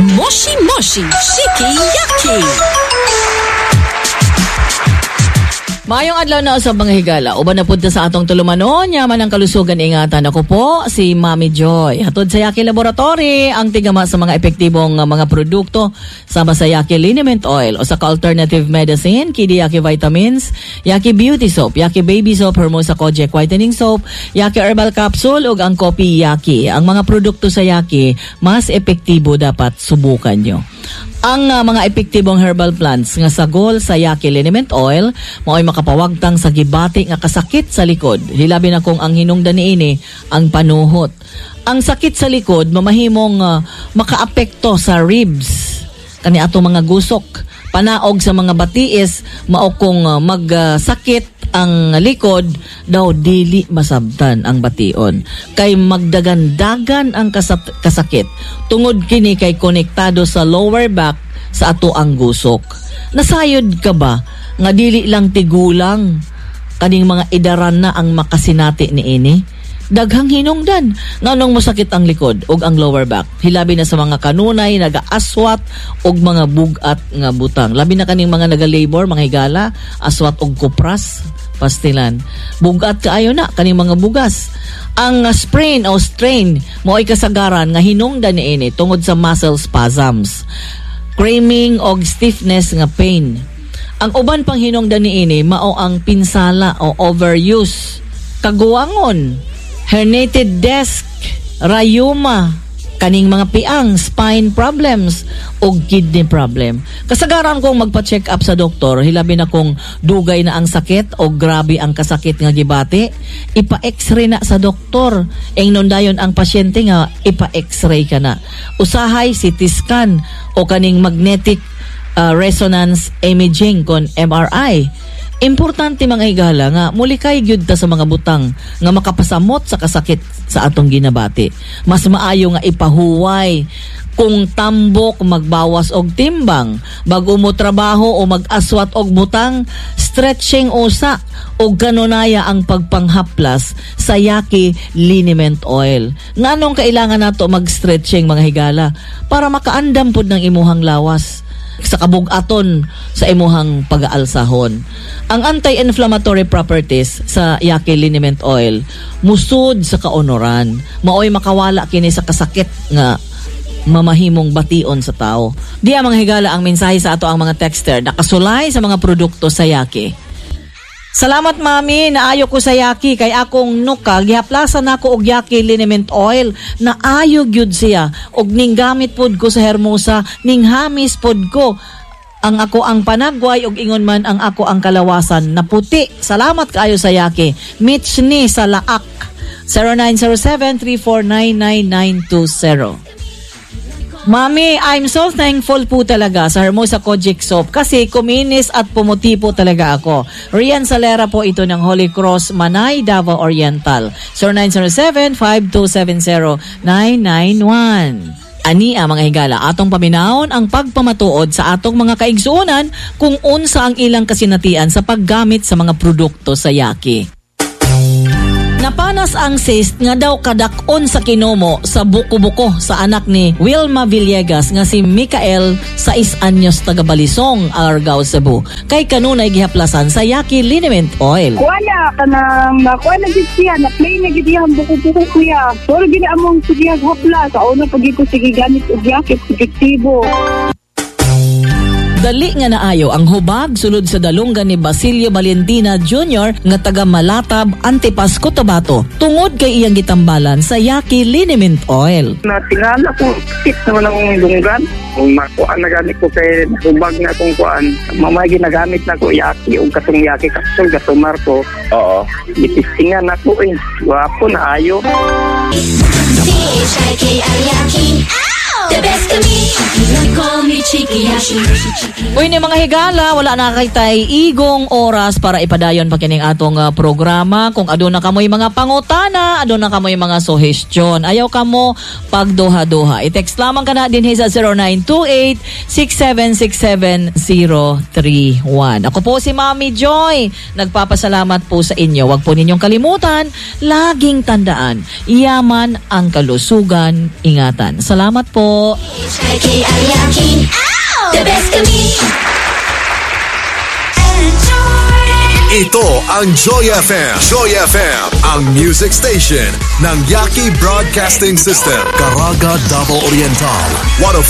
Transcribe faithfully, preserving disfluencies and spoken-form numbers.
Moshi Moshi Shiki Yaki. Maayong adlaw na sa mga higala. Uban na pud ta sa atong tulumanon, yaman ang kalusugan ingatan. Ako po si Mami Joy. Hatod sa Yaki Laboratory ang tigama sa mga epektibong uh, mga produkto sama sa Yaki Liniment Oil o sa alternative medicine, Kidi Yaki Vitamins, Yaki Beauty Soap, Yaki Baby Soap, Hermosa Kojek Whitening Soap, Yaki Herbal Capsule ug ang Kopi Yaki. Ang mga produkto sa Yaki mas epektibo dapat subukan nyo. Ang uh, mga epektibong herbal plants nga sagol sa Yaki Liniment Oil mao'y makapawagtang sa gibati nga kasakit sa likod. Hilabi na kung ang hinungdan niini ang panuhot. Ang sakit sa likod mamahimong uh, makaapekto sa ribs kani ato mga gusok. Panaog sa mga batiis mao kung uh, magsakit ang likod daw dili masabtan ang bation kay magdagandagan ang kasat- kasakit tungod kini kay konektado sa lower back sa ato ang gusok. Nasayod ka ba nga dili lang tigulang kaning mga idaran na ang makasinati niini? Daghang hinungdan nganong mosakit ang likod ug ang lower back. Hilabi na sa mga kanunay nagaaswat og mga bugat nga butang. Labi na kaning mga naga-labor, mga higala, aswat og kupras, pastilan. Bugat kaayo na kaning mga bugas. Ang uh, sprain o strain mao'y kasagaran nga hinungdan niini tungod sa muscle spasms, cramping og stiffness nga pain. Ang uban pang hinungdan niini mao ang pinsala o overuse, kaguwangon, herniated disc, rayuma, kaning mga piang, spine problems, o kidney problem. Kasagaran kong magpa-check up sa doktor, hilabi na kung dugay na ang sakit o grabe ang kasakit nga gibati, ipa-x-ray na sa doktor. Ingnon dayon ang pasyente nga ipa-x-ray ka na. Usahay C T scan o kaning magnetic uh, resonance imaging kon M R I. Importante, mga higala, nga mulikay gyud ta sa mga butang nga makapasamot sa kasakit sa atong ginabati. Mas maayo nga ipahuway kung tambok magbawas og timbang, bago mo trabaho o mag-aswat og butang, stretching usa og kanunaya ang pagpanghaplas sa Yaki Liniment Oil. Nganong kailangan nato mag-stretching, mga higala? Para makaandam pud ng imuhang lawas sa kabugaton sa imuhang pag-aalsahon. Ang anti-inflammatory properties sa Yaki Liniment Oil musud sa kaunoran. Maoy makawala kini sa kasakit nga mamahimong bation sa tao. Diya, mga higala, ang mensahe sa ato ang mga texter nakasulay sa mga produkto sa Yaki. "Salamat, Mami, naayo ko sa Yaki kay akong nuka gihaplasan nako og Yaki Liniment Oil. Naayo gyud siya og ning gamit pod ko sa Hermosa, ning hamis pod ko ang ako ang panagway og ingon man ang ako ang kalawasan na puti. Salamat kaayo sa Yaki." Mitch ni sa Laak, zero nine zero seven, three four nine nine nine two zero. "Mami, I'm so thankful po talaga sa Hermosa Kojic Soap kasi kuminis at pumuti po talaga ako." Rian Salera po ito ng Holy Cross, Manay, Davao Oriental. zero nine zero seven, five two seven zero, nine nine one. Ania, mga higala, atong paminawon ang pagpamatuod sa atong mga kaigsuonan kung unsa ang ilang kasinatian sa paggamit sa mga produkto sa Yaki. Napanas ang cyst nga daw kadak-on sa kinomo sa buko-buko sa anak ni Wilma Villegas nga si Mikael, sais anyos, taga Balisong, Argao, Cebu. Kay kanunay gihaplasan sa Yaki Liniment Oil. Kuha na, kanang nakuha na gid siya, na play na gid iyang buko-buko, kuya. Pero gini among sige hapla, sa una pag ko sige gamit og Yaki, epektibo. Dali nga naayo ang hubag sulod sa dalunggan ni Basilio Valentina Junior nga taga Malatab, Antipas, Cotabato tungod kay iyang gitambalan sa Yaki Liniment Oil. Natingala ko, sakit naman akong dunggan. Kung makuan na gani ko kay hubag na akong kuan, mamay ginagamit na ko Yaki o katong Yaki capsule gatumar ko. Oo. Gitistingan ako eh. Gwapo na ayo. C H I K I Yaki. The best kami. Call me Chiki. Uy, ni mga higala, wala na kay tay igong oras para ipadayon pa kining atong ah, programa. Kung aduna kamoy mga pangutana, aduna kamoy mga suhestyon. Ayaw kamo pagduha-duha. I-text lamang ka na din sa zero nine two eight, six seven six seven, zero three one. Ako po si Mami Joy. Nagpapasalamat po sa inyo. Huwag po ninyong kalimutan, laging tandaan, yaman ang kalusugan, ingatan. Salamat po. The best kami. Ito ang Joy F M. Joy F M, ang music station ng Yaki Broadcasting System. Caraga, Davao Oriental. one oh five